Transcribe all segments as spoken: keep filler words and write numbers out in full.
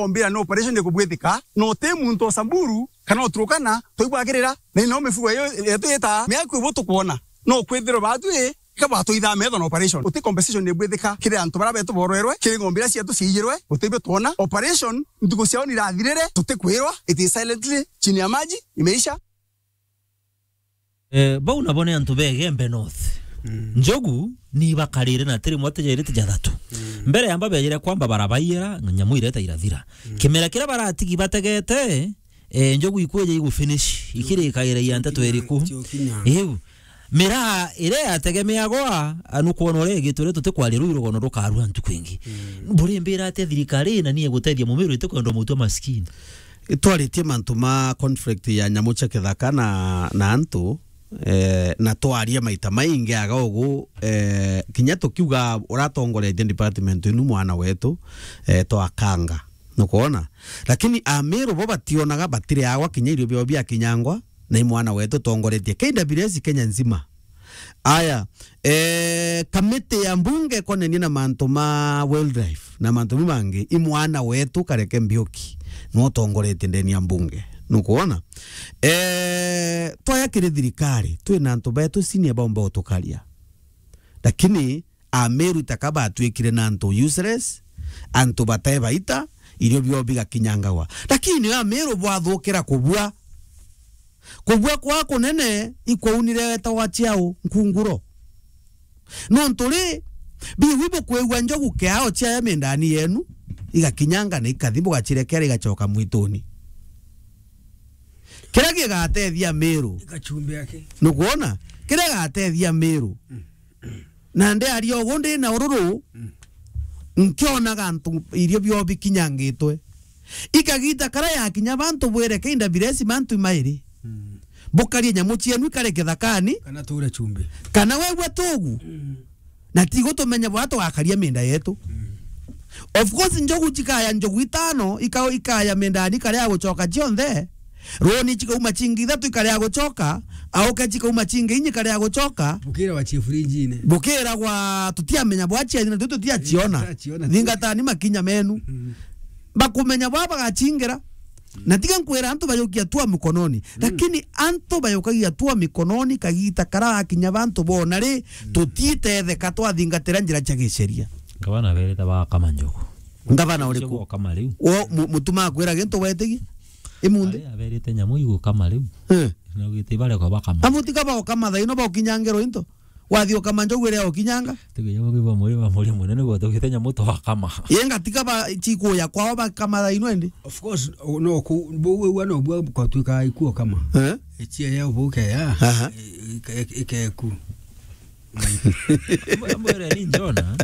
ombira ni operation ikubwithika, no ti muntu o Samburu kana o Turkana twaibwagirira, na ino mifugo iyo yetu yita miaku ibu tukwona. No kwithirwa batwi, ka batwithaa metho na operation. Uti compensation ibwithika kiri antu bara betu borwerwe, kiri ng'ombe iria cietu ciiyirwe, utibio twona. Operation, ntuku ciao nirathirire, tutikwirwa, it is silently, chini ya maji, imeisha. Eh, bau nabo ni antu ba Igembe North. Mm. Njogu ni ibakarire na tiri mwe tijairite jathatu. Mm. Mbere yamba bejire kwamba barabaiyira, nyamu ireta irathira. Mm. Kimera kiria baratigi bategete, eh, njogu ikwija igufinish, ikirikaira ya nteto iriku? Iu. Miraa iria yategemeagwa, a, nukwona uria igitwe ria tutikwaria ruu rugono rukarua ntuku ingi. Mm. Burimbira atia thirikari na ni igutethia Mumiru itikwendwa mutua maskini? Twaritie mantu ma conflict ya nyamu cia kithaka na, na antu, eh, na twaria maita maingi aga ugu, eh, kinya tukiuga uratongoretie department inu mwana wetu, eh, twakanga. Nukwona? Lakini Amiru bo bationaga, batiriagwa kinya irio biao biakinyangwa, na i mwana wetu utongoretie K W S Kenya nzima. Aya, eh, kamiti ya mbunge ikonenie na mantu ma wildlife na mantu mau mangi, i mwana wetu Kareke Mbiuki, nwe utongoretie ndeni ya mbunge. Nukwona? Eh, twaya kiri thirikari, twina antu betu senior baumba utukaria. Lakini Ameru itaka batwikire na antu useless, antu bate baita, irio bio bigakinyangagwa. Lakini Ameru bwathukira kubua. Kubua kwa kunene ikwaunire wetagwa ciao, nkunguro. Nontu ri, biwi bukwigua njogu kiao ciaya mindani yenu, igakinyanga na ikathi, bugacirekera igacoka mwituni. Kiria gigatethia Meru. Ikachumbi yake. Nukwona? Kiria gigatethia Meru. Mm. Na ndiaria ugu ndi na ururu, mm, nkionaga antu irio bio bikinyangitwe. Ikagita kara yakinya bantu bwire K W S mantu mairi. Mm. Bukarie nyamu cienu ikare kithakani. Kana ture chumbi. Kana wegua tugu. Mm. Na ti gutumenya bwa tugakaria minda yetu. Mm. Of course, njogu cikaya njogu itano, ika-, ikaya mindani ikaria gucoka cionthe. Runi cikauma cingi ithatu ikaria gucoka, auke cikauma cingi inyi ikaria gucoka. Bukira wa chief rinjine. Bukira gwa tutiamenya bwa cieni na tutiaciona. Tutiaciona. Thingatani makinya menu. Mm. Bakumenya bwa bagacingira. Na tiga nkwira antu bajukia tua mikononi. Mm. Lakini antu bajukagia tua mikononi kagita kara gakinya bantu bona ri, mm, tutitetheka twathingatira njira cia giceria. Ngavana aberete bakama njogu. Ngavana uriku? Bakama riu. Wo mu-, mutuma akwira gintu wetigia? Imunthi? Ari aberete nyamu igukama riu. Eh. Na ugite bare kwa bakama. Amutika baukama thaino baukinyangirwo into. Wathi ukama njogu iria ukinyanga. Tukinya mugi ba muri, ba muri munene gwa tugite nyamu twakama. Yenga tika ba chikuya kwao bakama thaino indi. Of course, o-, no ku, bu-, bu-, no bwa kwa twika ikuo kama. Eh? Ichia ya ubuke ya. Aha. I-, ike-, ike-, ikeku. Mbo-, mbwire ni njona.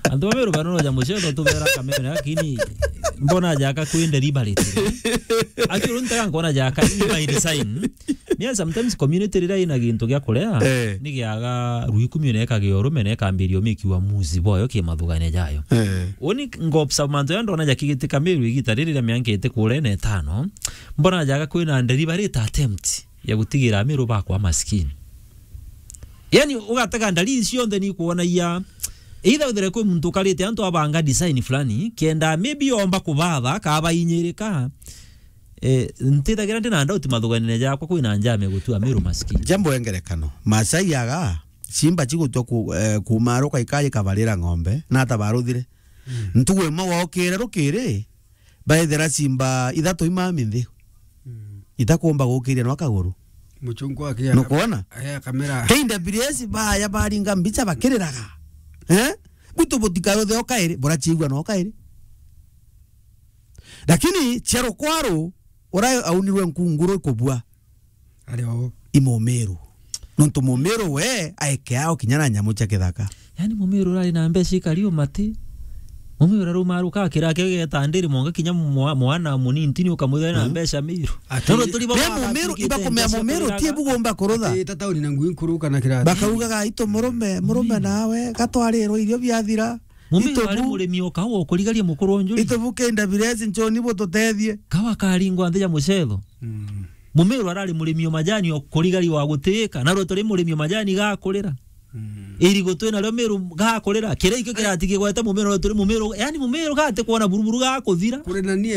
Antu ba Meru banonoja mucetho tubera kameme, lakini mbona jaka kwi deliberate. Actually, ntaga nkona jaka i by design. Ni sometimes community riria ina gintu gia kuria, eh, ni giaga rui kumi na ikagia urume na ikambiria umiki uamuzi bwayo ki mathugane jayo. Eh. Uni ngopsa mantu ya ndona jakigitika Meru igita riri ria mianka iti kuria na itano, mbona jaga kwina deliberate attempt ya gutigira Ameru bakwa maskini. Yani, ugatega ndalili cionthe ni kuonagia either withire kwi muntu ukarite antu abanga design fulani, kenda maybe omba kubatha, ka bainyirika. Eh, ntithagira ndina doubt mathuganine jakwa kwina njama igutua Ameru maskini. Jambo engerekano. Masai aga, simba cigutua ku-, eh, kumaruka ikaji kabarira ng'ombe, na ata baruthire. Mm. Ntugu imwe waukire rukiri, baethera simba ithatu imami nthi. Mm. Itakumba gukiria no kaguru. Muchungu akia. Nukwona? Aya kamera. K W S baya baringa mbicha bakiriraga. Eh? Butu butikayothe o kairi, burachiigua no kairi. Lakini cia rukwaru, ura aunirwe nkunguru ikubua. Ari o. I Mumiru. Nontu Mumiru we aekeao kinya na nyamu cia kithaka. Yani Mumiru urari na mbeca ikari umati. Mumiru uraruma ruka kira ke geta ndiri monga kinya mwa-, mwana munini tini ukamwithira na, hmm, mbeca Miru. Ati. Nono turi baba. Mumiru, ibakumea Mumiru ti bugomba kurutha. Ati ta tauni na ngui nkuru kana kira. Bakaugaga, "Itu murume, murume nawe, gatwarirwo irio biathira." Mumiru ari murimi o kawa ukurigaria mukuru o njuri. Itubu K W S nchoni bututethie. Kawa karingwa nthi ya mucetho. Mm. Mumiru arari murimi o majani o kurigari wa gutiika, na rwe turi murimi o majani ga kurira. Mm. Irigu twi nario Miru gakurira. Kiria ikio kirati kigwete Mumiru, turi Mumiru, yani Mumiru gati kwona buruburu gakuthira. Kuri na nie